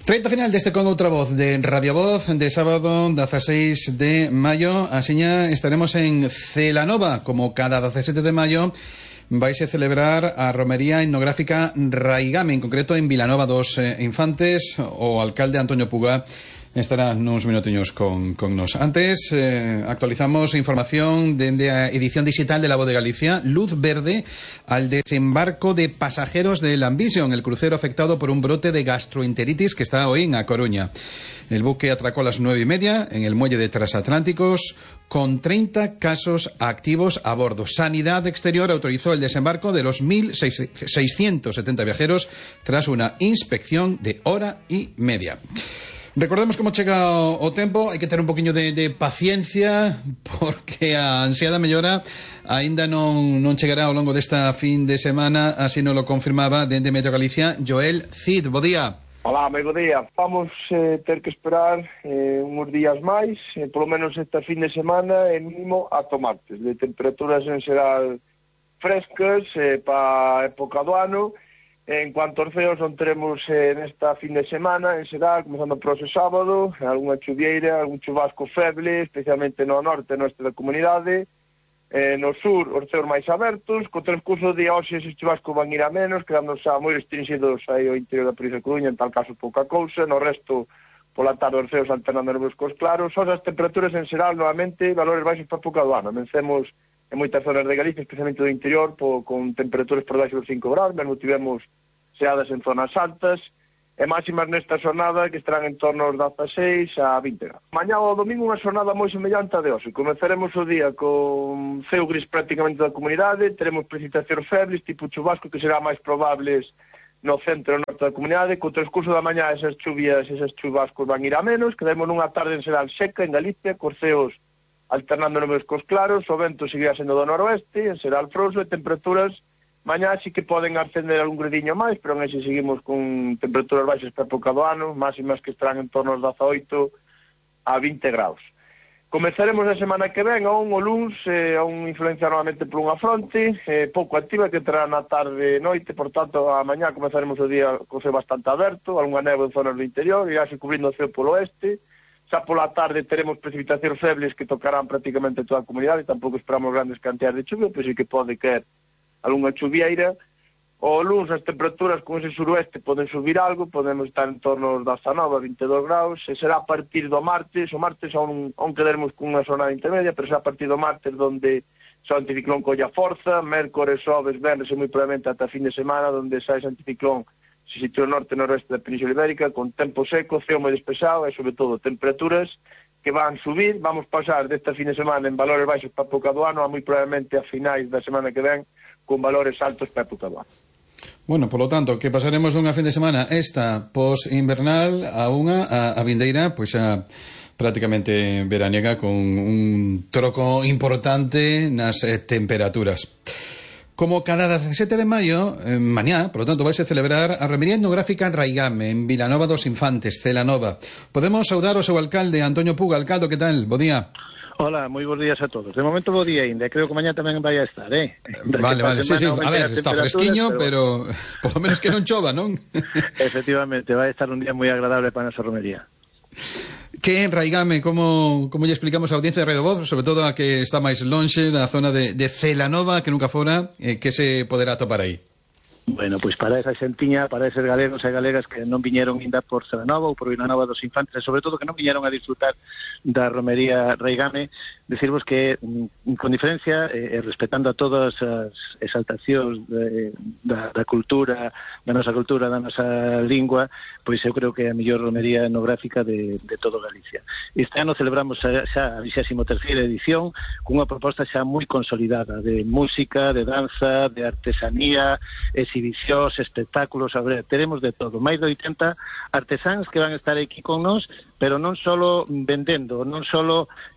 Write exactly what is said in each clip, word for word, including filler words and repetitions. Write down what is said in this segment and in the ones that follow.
Treito final deste Con Outra Voz de Radio Voz de sábado dieciséis de maio. Asiña estaremos en Celanova, como cada diecisiete de maio vais a celebrar a romería etnográfica Raigame, en concreto en Vilanova dos eh, Infantes. O alcalde Antonio Puga estará nuns minutiños con, con nos. Antes, eh, actualizamos información dende a edición digital de La Voz de Galicia. Luz verde al desembarco de pasajeros del Ambition, el crucero afectado por un brote de gastroenteritis que está hoy en A Coruña. El buque atracó a las nueve y media en el muelle de Transatlánticos con treinta casos activos a bordo. Sanidad Exterior autorizó el desembarco de los mil seiscientos setenta viajeros tras una inspección de hora y media. Recordemos como chega o, o tempo, hai que ter un poquinho de, de paciencia, porque a ansiada mellora aínda non, non chegará ao longo desta fin de semana, así nos lo confirmaba dende Meteo Galicia Joel Cid. Bo día. Hola, moi bo día. Vamos eh, ter que esperar eh, uns días máis, eh, polo menos esta fin de semana, e mínimo ata martes, de temperaturas en xeral frescas eh, para a época do ano. En cuanto aos ceos, non teremos eh, nesta fin de semana, en xeral, comenzando por ese sábado, algunha chuvieira, algún chubasco feble, especialmente no norte nosta da comunidade. Eh, no sur, os ceos máis abertos, co transcurso de hoxe ese chubasco van ir a menos, quedando xa moi restringidos aí ao interior da provincia de Coruña, en tal caso pouca cousa. No resto, pola tarde, os ceos alternando nubes cos claros. Só as temperaturas en xeral, novamente, valores baixos para a época do ano. Vencemos en moitas zonas de Galicia, especialmente do interior, po, con temperaturas por baixo dos cinco graus, mesmo tivemos xeadas en zonas altas, e máximas nesta xornada que estarán en torno aos dieciséis a vinte graus. Mañá o domingo unha xornada moi semellante a de hoxe. Comezaremos o día con ceo gris prácticamente da comunidade, teremos precipitacións febles, tipo chubasco, que será máis probables no centro e norte da comunidade. Co transcurso da mañá esas chuvias, esas chubascos van ir a menos, quedaremos nunha tarde en xeral seca en Galicia, cos ceos alternando nubes cos claros, o vento seguirá sendo do noroeste, en xeral frouxo, e temperaturas mañá sí que poden ascender algún gradiño máis, pero en ese seguimos con temperaturas baixas para a época do ano, máximas que estarán en torno aos dezaoito a vinte graus. Comezaremos a semana que ven, aún o luns, eh, aún influenciar novamente por unha fronte, eh, pouco activa, que entrará na tarde e noite, por tanto, a mañá comezaremos o día co ceo bastante aberto, algunha neve en zonas do interior, e así cubrindo o ceo polo oeste. Xa pola tarde teremos precipitacións febles que tocarán prácticamente toda a comunidade, tampouco esperamos grandes cantidades de chuvia, pero sí que pode caer algunha chuvieira. O luns as temperaturas con ese suroeste poden subir algo, podemos estar en torno aos dezanove a vinte e dous graus, e será a partir do martes, o martes aún, aún quedaremos con unha zona intermedia, pero será a partir do martes donde xa o anticiclón colla forza, mércores, xoves, venres e moi probablemente ata fin de semana, donde xa ese anticiclón se sitúa no norte e noroeste da Península Ibérica, con tempo seco, ceo moi despexado e, sobre todo, temperaturas que van subir. Vamos pasar desta fin de semana en valores baixos para a época do ano a moi probablemente a finais da semana que ven con valores altos para a época do ano. Bueno, por lo tanto, que pasaremos dunha fin de semana esta post-invernal a unha a, a vindeira, pois xa prácticamente veraniega, con un troco importante nas eh, temperaturas. Como cada diecisiete de maio, eh, mañá, por lo tanto, vais a celebrar a romería etnográfica Raigame, en Vilanova dos Infantes, Celanova. Podemos saudar ao seu alcalde, Antonio Puga. Alcalde, que tal? Bo día. Hola, moi bons días a todos. De momento bo día ainda, creo que mañá tamén vai a estar, eh? Vale, vale, sí, sí, a ver, está fresquiño, pero, pero por lo menos que non chova, non? Efectivamente, vai a estar un día moi agradable para a nosa romería. Que en Raigame, como, como lle explicamos a audiencia de Radio Voz, sobre todo a que está máis lonxe da zona de, de Celanova, que nunca fora, eh, que se poderá topar aí? Bueno, pois para esa xentiña, para eses galegos e galegas que non viñeron ainda por Celanova ou por Vilanova dos Infantes, e sobre todo que non viñeron a disfrutar da romería Raigame, decirvos que, con diferencia, e eh, respetando a todas as exaltacións de, da, da cultura, da nosa cultura, da nosa lingua, pois eu creo que é a mellor romería etnográfica de, de todo Galicia. Este ano celebramos xa, xa a vixésima terceira edición, cunha proposta xa moi consolidada de música, de danza, de artesanía, exhibicións, espectáculos, a ver, teremos de todo. Máis de oitenta artesáns que van a estar aquí con nós, pero non só vendendo, non só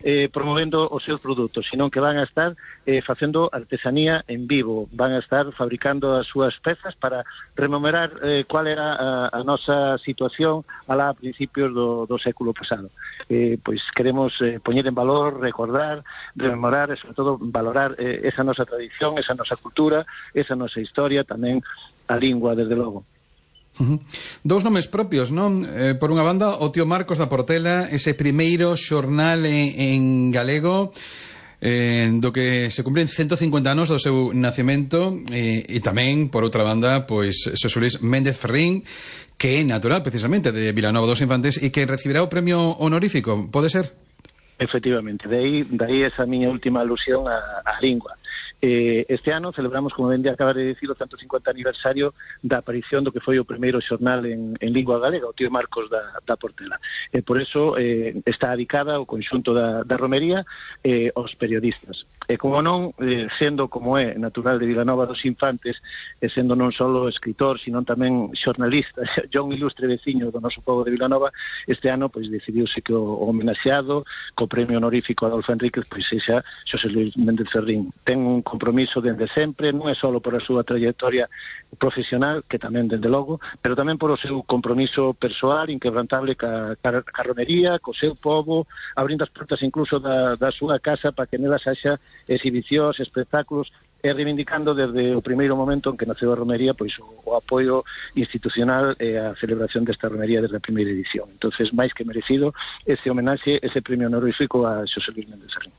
eh, promovendo os seus produtos, sino que van a estar eh, facendo artesanía en vivo, van a estar fabricando as súas pezas para rememorar eh, cual era a, a nosa situación alá a principios do, do século pasado. Eh, pois queremos eh, poñer en valor, recordar, rememorar e, sobre todo, valorar eh, esa nosa tradición, esa nosa cultura, esa nosa historia, tamén a lingua, desde logo. Uh-huh. Dous nomes propios, non? Eh, por unha banda, o tío Marcos da Portela, ese primeiro xornal en, en galego, eh, do que se cumpren ciento cincuenta anos do seu nacemento, eh, e tamén, por outra banda, pois, Xosé Luis Méndez Ferrín, que é natural, precisamente, de Vilanova dos Infantes, e que recibirá o premio honorífico, pode ser? Efectivamente, de aí, de aí esa miña última alusión á, á lingua. Eh, este ano celebramos, como ben de acabar de dicir, o ciento cincuenta aniversario da aparición do que foi o primeiro xornal en, en lingua galega, o tío Marcos da, da Portela. E por eso eh, está dedicada o conxunto da, da romería eh, aos periodistas. E como non, eh, sendo como é natural de Vilanova dos Infantes, e sendo non só escritor, sino tamén xornalista, yo un ilustre veciño do noso pobo de Vilanova, este ano pois decidiuse que o, o homenaxeado co premio honorífico Adolfo Enríquez pois sexa Xosé Luis Méndez Ferrín. Ten un compromiso dende sempre, non é só por a súa trayectoria profesional, que tamén dende logo, pero tamén por o seu compromiso persoal inquebrantable ca, ca, ca romería, co seu povo, abrindo as portas incluso da, da súa casa para que nelas haxa exhibicións, espectáculos, e reivindicando desde o primeiro momento en que naceu a romería pois o, o apoio institucional e a celebración desta romería desde a primeira edición. Entonces, máis que merecido ese homenaxe, ese premio honorífico a Xosé Luis Méndez Ferrín.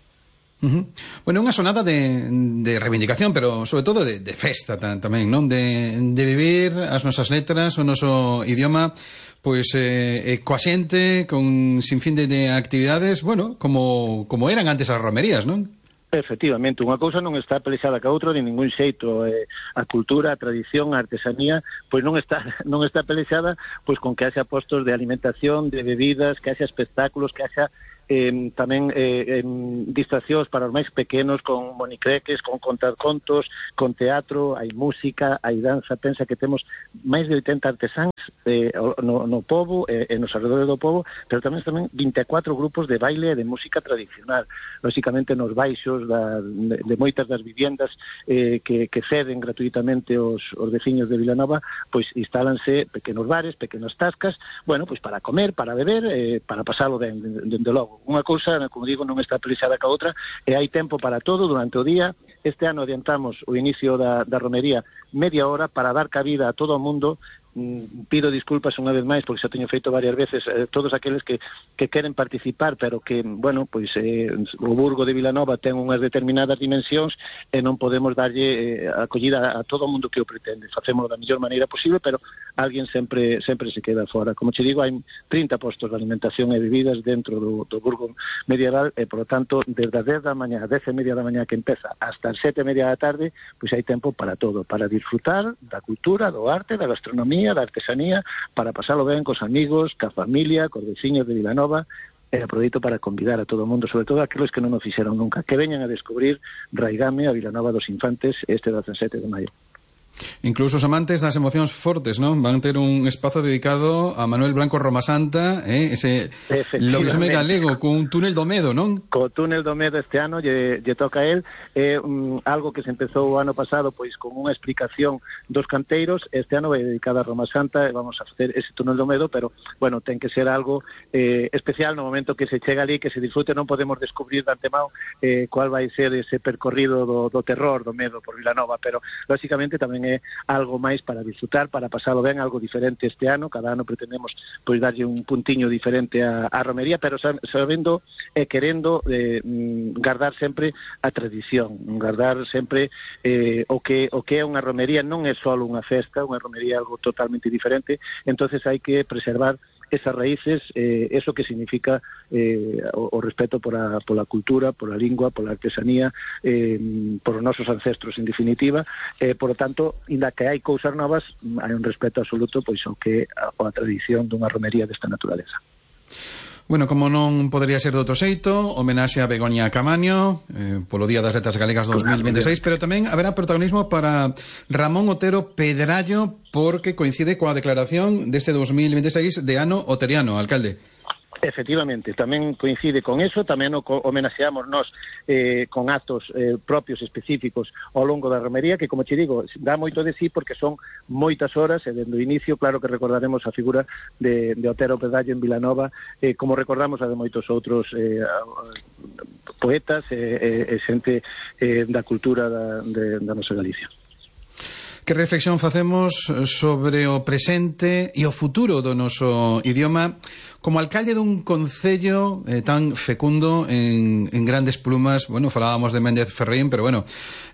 Uh-huh. Bueno, unha sonada de, de reivindicación, pero sobre todo de, de festa tamén, non? De, de vivir as nosas letras, o noso idioma, pois eh, coa xente, con sinfín de, de actividades, bueno, como, como eran antes as romerías, non? Efectivamente, unha cousa non está pelexada ca outra de ningún xeito. Eh, a cultura, a tradición, a artesanía, pois non está non está pelexada pois con que haxa postos de alimentación, de bebidas, que haxa espectáculos, que haxa eh, tamén eh, eh, distraccións para os máis pequenos, con monicreques, con contacontos, con teatro, hai música, hai danza. Pensa que temos máis de oitenta artesáns eh, no, no pobo e eh, nos alrededores do pobo, pero tamén tamén vinte e catro grupos de baile e de música tradicional, lógicamente nos baixos da, de, de moitas das viviendas eh, que, que ceden gratuitamente os, os veciños de Vilanova, pois instálanse pequenos bares, pequenas tascas, bueno, pois para comer, para beber, eh, para pasalo dende de, de, de logo. Unha cousa, como digo, non está pelexada ca outra, e hai tempo para todo durante o día. Este ano adiantamos o inicio da, da romería media hora para dar cabida a todo o mundo. Mm, pido disculpas unha vez máis porque xa teño feito varias veces eh, todos aqueles que, que queren participar, pero que, bueno, pois eh, o Burgo de Vilanova ten unhas determinadas dimensións e non podemos darlle eh, acollida a todo o mundo que o pretende. Facémolo da mellor maneira posible, pero alguén sempre sempre se queda fora. Como che digo, hai trinta postos de alimentación e bebidas dentro do, do Burgo medieval e, por lo tanto, desde as dez da mañá, dez e media da mañá que empeza, hasta as sete e media da tarde, pois hai tempo para todo, para disfrutar da cultura, do arte, da gastronomía, da artesanía, para pasalo ben cos amigos, ca familia, cos veciños de Vilanova, e aproveito para convidar a todo o mundo, sobre todo aqueles que non o fixeron nunca, que veñan a descubrir Raigame, a Vilanova dos Infantes, este dezasete de maio. Incluso os amantes das emocións fortes, non? Van ter un espazo dedicado a Manuel Blanco Romasanta, eh? Ese lobisome galego cun túnel do medo, non? Co túnel do medo este ano lle, lle toca a él, é um, algo que se empezou o ano pasado pois con unha explicación dos canteiros. Este ano vai dedicada a Romasanta e vamos a facer ese túnel do medo, pero, bueno, ten que ser algo eh, especial no momento que se chega ali, que se disfrute. Non podemos descubrir de antemão eh, cual vai ser ese percorrido do, do terror, do medo por Vilanova, pero, lógicamente, tamén é algo máis para disfrutar, para pasalo ben, algo diferente este ano. Cada ano pretendemos pois darlle un puntiño diferente a, a romería, pero sabendo e querendo eh, guardar sempre a tradición, guardar sempre eh, o que o que é unha romería. Non é só unha festa, unha romería é algo totalmente diferente, entonces hai que preservar esas raíces, eh, eso que significa eh, o, o respeto por a, pola cultura, pola lingua, pola artesanía, eh, por os nosos ancestros, en definitiva. Eh, por lo tanto, inda que hai cousas novas, hai un respeto absoluto pois ao que a, a tradición dunha romería desta naturaleza. Bueno, como non podería ser de outro xeito, homenaxe a Begoña Camaño eh, polo Día das Letras Galegas dos mil veintiséis, pero tamén haberá protagonismo para Ramón Otero Pedrallo, porque coincide coa declaración deste dos mil veintiséis de ano oteriano, alcalde. Efectivamente, tamén coincide con eso, tamén o homenaxeamos nós eh, con actos eh, propios específicos ao longo da romería, que, como te digo, dá moito de sí porque son moitas horas, e dende o inicio, claro que recordaremos a figura de, de Otero Pedrallo en Vilanova, eh, como recordamos a de moitos outros eh, poetas e eh, eh, xente eh, da cultura da, de, da nosa Galicia. Que reflexión facemos sobre o presente e o futuro do noso idioma como alcalde dun concello eh, tan fecundo en, en grandes plumas? Bueno, falábamos de Méndez Ferrín, pero bueno,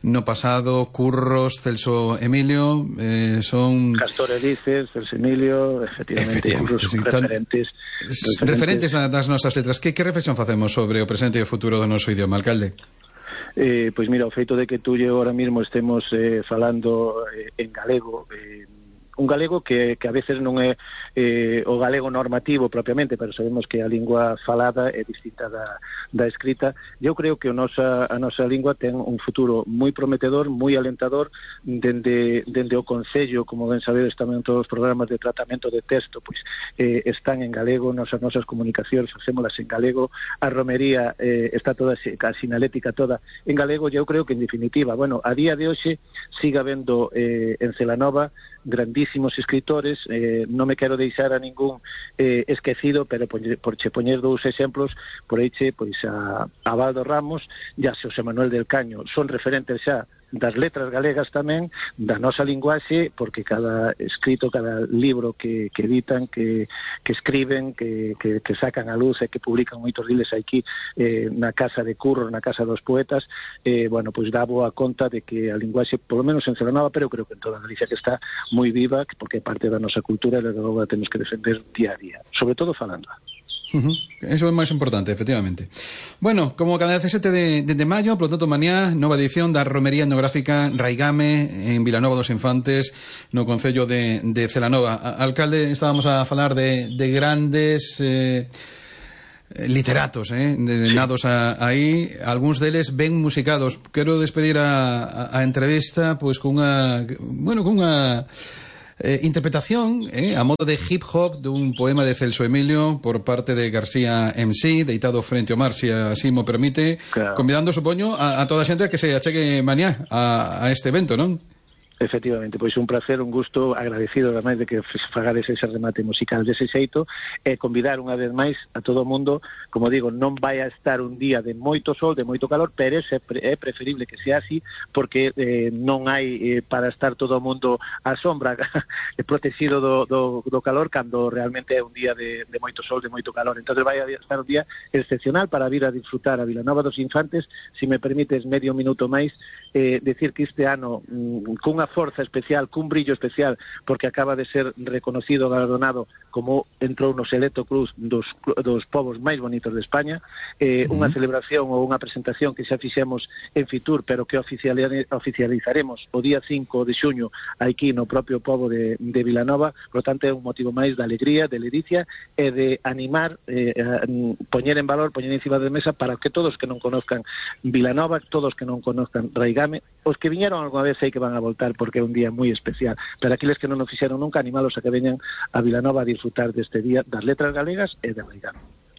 no pasado Curros, Celso Emilio, eh, son... Castor Elices, Celso Emilio, efectivamente, efectivamente Curros, sí, referentes, tan, referentes, referentes das nosas letras. Que, que reflexión facemos sobre o presente e o futuro do noso idioma, alcalde? Eh, pois mira, o feito de que tú e ahora mismo estemos eh, falando eh, en galego, eh, un galego que, que a veces non é eh, o galego normativo propiamente, pero sabemos que a lingua falada é distinta da, da escrita. Eu creo que a nosa, a nosa lingua ten un futuro moi prometedor, moi alentador, dende, dende o Concello, como ben sabedes tamén todos os programas de tratamento de texto pois eh, están en galego, nos, as nosas comunicacións facémolas en galego, a romería eh, está toda, a sinalética toda en galego. Eu creo que en definitiva, bueno, a día de hoxe siga vendo eh, en Celanova grandísimos escritores, eh, non me quero deixar a ningún eh, esquecido, pero por, por che poñer dous exemplos, por aí che, pois a, a Baldo Ramos e a Xosé Manuel del Caño, son referentes xa das letras galegas tamén, da nosa linguaxe, porque cada escrito, cada libro que, que editan, que, que escriben, que, que, que sacan a luz e que publican moitos diles aquí eh, na Casa de Curros, na Casa dos Poetas, eh, bueno, pois dá boa conta de que a linguaxe, polo menos en Celanova, pero creo que en toda Galicia, que está moi viva, porque é parte da nosa cultura e logo a temos que defender día a día, sobre todo falando. Uh-huh. Eso é máis importante, efectivamente. Bueno, como cada dezasete de, de, de maio, por lo tanto, mañá, nova edición da Romería Etnográfica Raigame en Vilanova dos Infantes, no concello de, de Celanova. Alcalde, estábamos a falar de, de grandes eh, literatos, eh, de, de nados a, aí, algúns deles ben musicados. Quero despedir a, a, a entrevista pois cunha, bueno, cunha Eh, interpretación eh, a modo de hip hop dun poema de Celso Emilio por parte de García M C, deitado frente ao mar, se así mo permite, claro. Convidando, supoño, a, a toda a xente a que se achegue mañá a, a este evento, non? Efectivamente, pois un placer, un gusto, agradecido ademais de que fagades ese remate musical dese xeito, e convidar unha vez máis a todo o mundo, como digo, non vai a estar un día de moito sol, de moito calor, pero é preferible que sea así, porque eh, non hai eh, para estar todo o mundo á sombra protegido do, do, do calor, cando realmente é un día de, de moito sol, de moito calor. Entón vai a estar un día excepcional para vir a disfrutar a Vilanova dos Infantes. Si me permites medio minuto máis, eh, decir que este ano mm, cunha forza especial, cun brillo especial, porque acaba de ser reconocido, galardonado como entrou no Selecto Cruz dos, dos povos máis bonitos de España, eh, uh-huh. Unha celebración ou unha presentación que xa fixemos en Fitur, pero que oficializaremos o día cinco de xuño aquí no propio pobo de, de Vilanova. Por lo tanto, é un motivo máis de alegría, de ledicia e de animar, eh, a poñer en valor, poñer encima de mesa para que todos que non conozcan Vilanova, todos que non conozcan Raigame, os que viñeron alguna vez sei que van a voltar, porque é un día moi especial. Para aqueles que non o fixeron nunca, animalos a que veñan a Vilanova a disfrutar deste día das letras galegas e de Raigame.